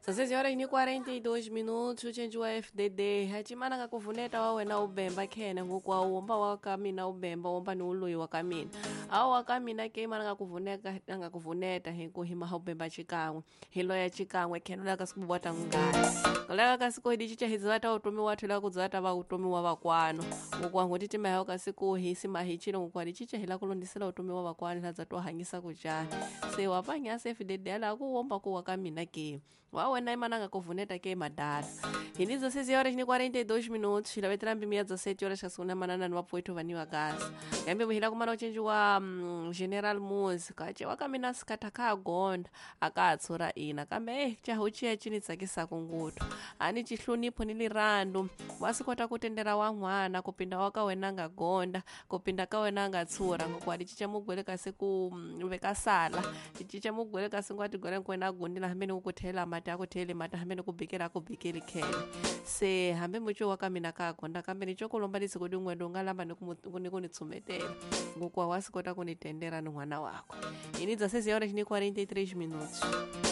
São 6 horas e 42 minutos uchenji wa FDD hachimana kakuvuneta wa wena ubemba khene ngukwa womba wa kamina ubemba womba ni uluyi wa kamina awu wa kamina ke mana ngakuvuneka ngakuvuneta hiku hima ubemba chikanwe hilo ya chikanwe khene laka sikubwata ngani kolaka kasiku hidi chicha hizata utumi wathu la kudzata va utumi wa vakwano ngukwangu titi mayawo kasiku hisi mahichilo ngukwadi chicha hila kulondisela utumi wa vakwano ladza hanyisa kuchani se wapanyasa FDD ala kuwomba kuwa kamina ke wawena imana ngakuvuneta ke madala hinizo 6 horas ni 42 minutos hilavetela mbimi ya 17 horas kasuna manana ni wapoito vaniwa gaza yambe hila kumana uchenji wa general music ache wakamina sikatha kaagonda akaatsura ina kambe chahuchiya chini tsakisa kungutu ani chihlonipho ni lirandu wasikota kutendera wan'wana kupinda waka wena nga gonda kupinda ka wena nga tsura ngokwadi chicha mugwele kasi ku veka sala chicha mugwele kasi ngwati gwele nkwena agundila hambe ni kukuthela mati akutheli mati hambe ni kubikela akubikeli khele se hambe mucho wa kamina ka gonda kambe ni chokulomba lisiku dingwendo ungalamba ni kunitsumetela ngokuwa wasikota kunitendera ni n'wana wakwe ini dza 6 horas ni 43 minutos.